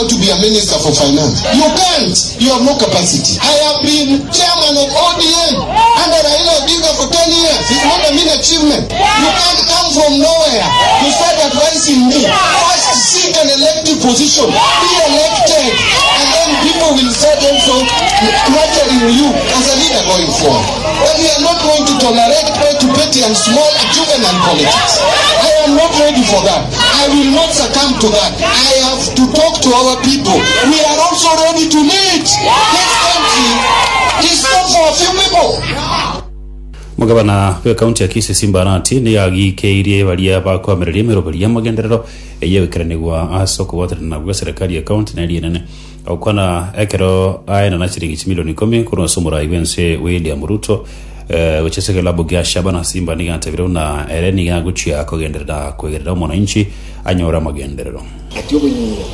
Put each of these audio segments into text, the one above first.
To be a minister for finance you can't you have no capacity I have been chairman of ODM under Raila Odinga for 10 years it's not a mean achievement you can't come from nowhere to start advising me first seek an elective position be elected and then people will start also nurturing you as a leader going forward but we are not going to tolerate petty petty and small juvenile politics I am not ready for that I will not succumb to that. I have to talk to our people. We are also ready to lead. This country is not for a few people. Omogabana bw'ekaunti ya Kisii Simba Arati nigo agikeirie baria bakoamereria emeroberi y'amagenderero eyio egoikeranigwa ase okobwaterana gw'eserekari y'ekaunti na eria enene. Agokwana ekero aenana chiringi chimilioni ikomi korwa ase omorai bw'ense William Ruto eh, gochia ase ekelabu gia Shabana Simba nigo atebire buna ere nigo agochia kogenderera koegerera omonanchi anyore amagenderero. Ati obonyira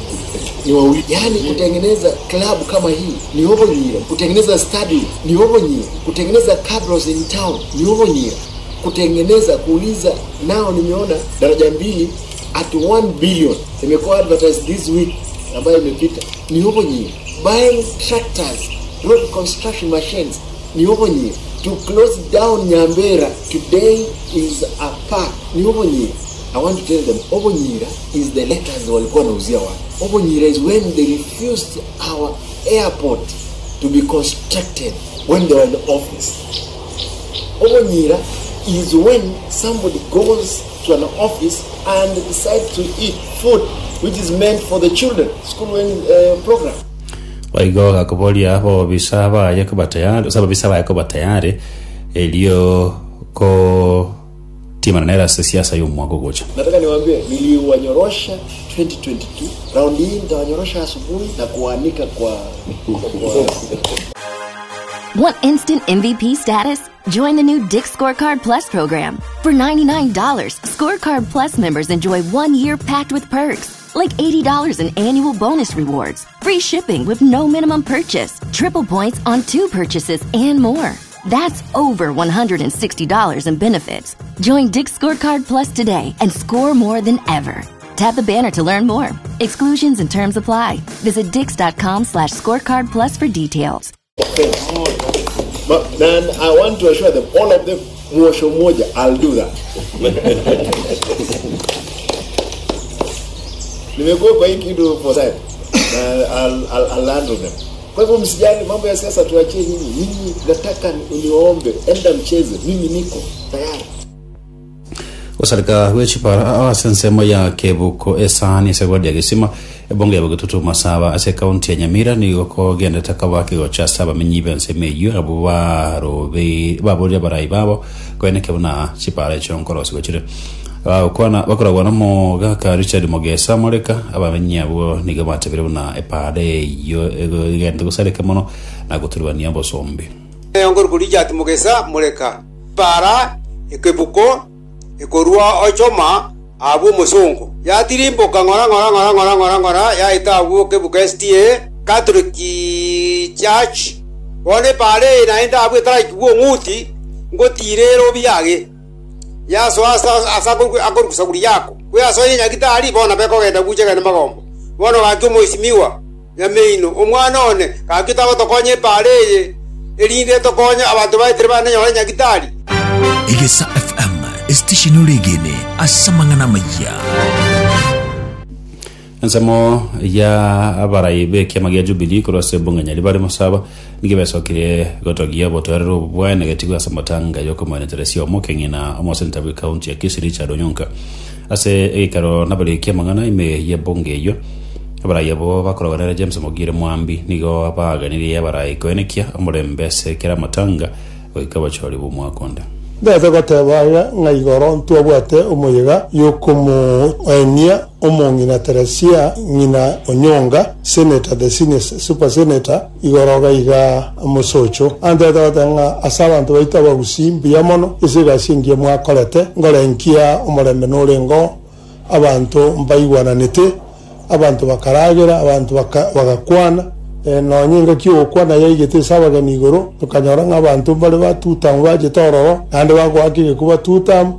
ni wawi, yaani kutengeneza club kama hii ni obonyira, kutengeneza stadium ni obonyira, kutengeneza cabros in town ni obonyira, kutengeneza kuuliza nao, nimeona daraja mbili at 1 billion imekuwa advertised this week ambayo imepita ni obonyira, buying tractors, road construction machines ni obonyira, to close down Nyambera today is a park ni obonyira. I want to tell them Obonyira is the letters walikuwa wanauzia watu. Obonyira is when they refused our airport to be constructed when they were in office. Obonyira is when somebody goes to an office and decides to eat food which is meant for the children school uh, program. Boigo gakoboria abobisa baye koba tayari, gose ababisa baye koba tayari erio kotimana nere ase siasa y'omwaka ogocha. Nataka niwaambie niliwanyorosha 2022 raundi hii nitawanyorosha asubuhi na kuwaanika kwa, kwa Want instant MVP status? Join the new Dick's Scorecard Plus program. For $99, Scorecard Plus members enjoy one year packed with perks, like $80 in annual bonus rewards, free shipping with no minimum purchase, triple points on two purchases, and more. That's over $160 in benefits. Join Dick's Scorecard Plus today and score more than ever. Tap the banner to learn more. Exclusions and terms apply. Visit dix.com slash scorecard plus for details. But then I want to assure them, all of them, mwosho moja, I'll do that. Nimekuwa kwa hii kitu for time. Na I'll, I'll, I'll handle them. Kwa hivyo msijali mambo ya siasa tuachie nyinyi. Nyinyi nataka niwaombe, enda mcheze, mimi niko tayari. Gosareka gwe chipara ase ensemo ya Kebuko esani ase ward ya Gesima ebunge ya Bogetutu Masaba ase ekaunti ya Nyamira nigo kogenderete koba kegocha ase abamenyi b'ensemo eyio abwo barobe baborire abarai babo koeneke buna chipara echio nkorosigwa chire. Bagokwana bakoragwa nomogaka Richard Mogesa Moreka abamenyi abwo nigo batebire buna epara eyio egenderete gosareka mono na goturubania obosombi. Nkorokwa Richard Mogesa Moreka. Epaara ekebuko ekorua ochoma abwo omosongo, yatirimboka ng'ora ng'ora ng'ora ng'ora ng'ora ng'ora yaeta abwo kebuko SDA Catholic Church. Bono epaara eye naende abwo etaraikigwa ong'uti ngotiira ere obiage yasoa ase ase akorokwa Sauri yako bweasoire Nyagitari bono nabo ekogenda bucha egende magombo. Bono gaki omoisimiwa Nyameino, omwana one, gaki otagotokonya epaara eye, erinde etokonye abanto baetere banenyore Nyagitari. Egesa FM, esitesheni oregene ase amang'ana amayia. Ensemo ya abarai b'ekiama gia Jubilee korwa ase ebunge Nyaribari Masaba nigo besokirie gotogia obotoereru obo bwaenegetigwe ase amatanga y'okomoeneteresia omokeng'i na omoseneta bw'ecounty ya Kisii Richard Onyonka. Ase egekero nabariki amang'ana ime y'ebunge eyio, abarai abwo bakorogwa nere James Mogire Mwambi nigo baganirie abarai koenekia omorembe ase kera amatanga goika obochori bw'omwaka onde. Ndete goteba iga ng'a igoro ntwabwate omoyega y'okomoenia omong'ina Teresia ng'ina Onyonga, Senator, the senior super senator, igoro iga iga mosocho. Antete goteba ng'a ase abanto baito abagusii mbuya mono ase egasi engiya mwakorete, ngorenkia omorembe norengeo, abanto mbaigwananete, abanto bakaragera, abanto bagakwana, nonya engaki y'ogokwana yaigete ase abageni igoro, tokanyora ng'a abanto mbare ba Tutamu bachete ororo, naende bagoaka egekuba Tutamu.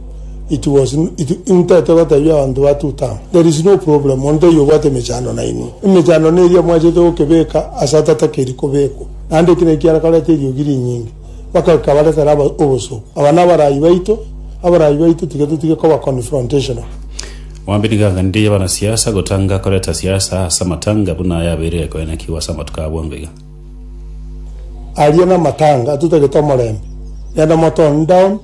It was it intete gotebia abanto ba tutam there is no problem onde taiyo obwate emechando nainwe. Emechando neria mwachete gokebeka ase atatakeri kobekwa. Naende eki nakio kiarekorete eriogi rinyinge mpaka rikabaretera aba obosooku. Aba nabarai baito, abarai baito tiga totige koba confrontational. Mwambini nigo abanasiasa gotanga koreta siasa ase amatanga buna yabeire ekoenekigwa ase amatuko a bwango iga. Aria namatanga atotagete omorembe, genda motone down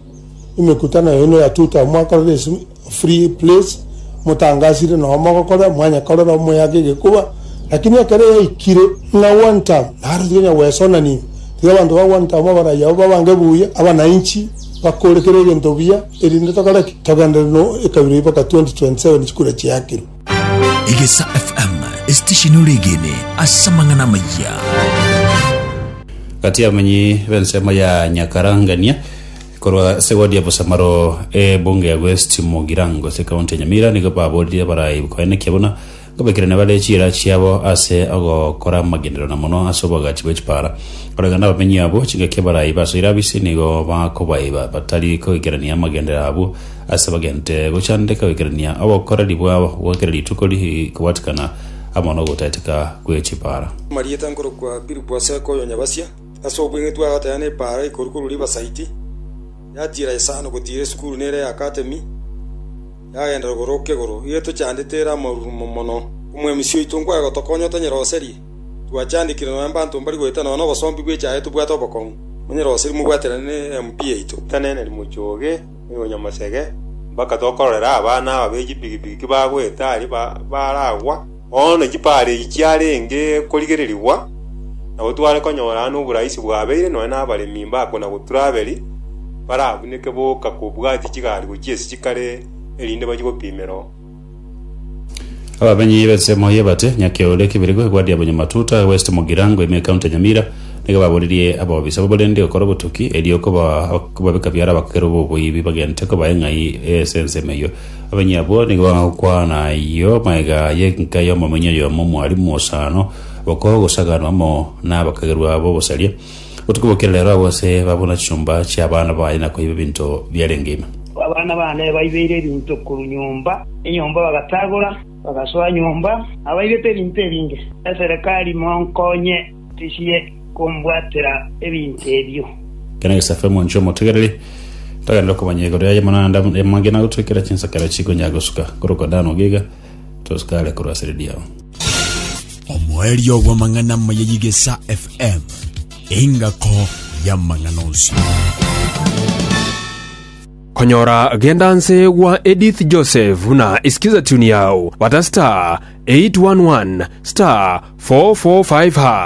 emekutano yaino ya tuta mwakorera ase free place motangasire noo mogokora mwanyakorera omoyaka egekuba lakini ekero yaikire ng'a one term naro tiga gwesonania ime tiga abanto ba one term abarai abwo babange buya abananchi bakore kera egento buya erinde tokore ki? Togenderere no ekabira eyio mpaka 2027 chikura chiakirwe. Egesa FM, esitesheni oregene ase amang'ana amayia. Gati y'abamenyi b'ensemo ya Nyakarangania korwa ase ward ya Bosamaro ebunge ya West Mugirango ase ekaunti ya Nyamira nigo baboririe abarai koenekia buna nkobekerania bare chiira chiabo ase ogokora amagenderero na mono ase oboagachi bwe chipara. Koreng'ana nabamenyi abwo, chingaki abarai basoire abisi nigo bakobaiba batari koikerania amagenderero abwo ase bagente gochandeka goikerania obokoreri bwabo bwa kera rituko rikobwatikana amo nogotaeteka gwe chipara. Amarieta nkorokwa Philip Aseka oyo Nyabasia, ase obweng'e twagoteba nepaara ikoru korwa Riverside, yatiira isano gotiira esukuru nere ya Academy, yagenda rogoro kegoro. Iga etochandete ere amarurumo mono. Omwemisi oito nkwaye gotokonya otonyeroserie. Twachandekire nonya mbanto mbari goeta nonya nobosombi bw'echaye tobwate obokong'u. Monyeroserie mobwaterane ne MP yaito. Taneneri mochoge oyo nyamasege, mpaka tokororera abana aba be chipigipigi kibagoeta aria baragwa. Bono chipara echi chiarenge korigererigwa, nabo tware konyora aa noboraisi bwabeire nonya nabaremi mbakona goturaberi, barabuneke boka kobwatia chigari gochia ase chikare, erinde bachie gopimera oo. Abamenyi b'ensemo y'Ebate, Nyakeore, Kibirigo, Egwadi ya Bonyamatuta, West Mugirango, ime ekaunti ya Nyamira, nigo baboririe abaobisa b'oborendi gokora obotuki erio koba kobabeka biara abakero b'oboibi bagente kobaa eng'ai ase ensemo eyio. Abamenyi abwo nigo bagokwana ayio magega y'enka y'omomenyi oyomo omwalimu osano bokogosaganwa amo nabakagerwa b'obosaria. Botuko bokera rero abwo ase babuna chinyomba chi'abana baye na koiba ebinto biarenge ime. Abana baane baibeire ebinto korwa nyomba, enyomba bagatagora, bagasoa nyomba, abaibete ebinto ebinge. Eserekari monkonye tichie kombwatera ebinto ebio. Kena gesafe mwanche omotegereri togenderere komanya igoro yaye mono naende amange nagotwekera chinsakara chikonya gosuka korokwa Dan Ogiga tosikare korwa ase redio yao. Omoerio bw'amang'ana amaya y'Igesa FM, engako y'amang'ana onsi. Konyora genda nse gwa Edith Joseph na isikiza tune yao bata star 811 star 445 hash.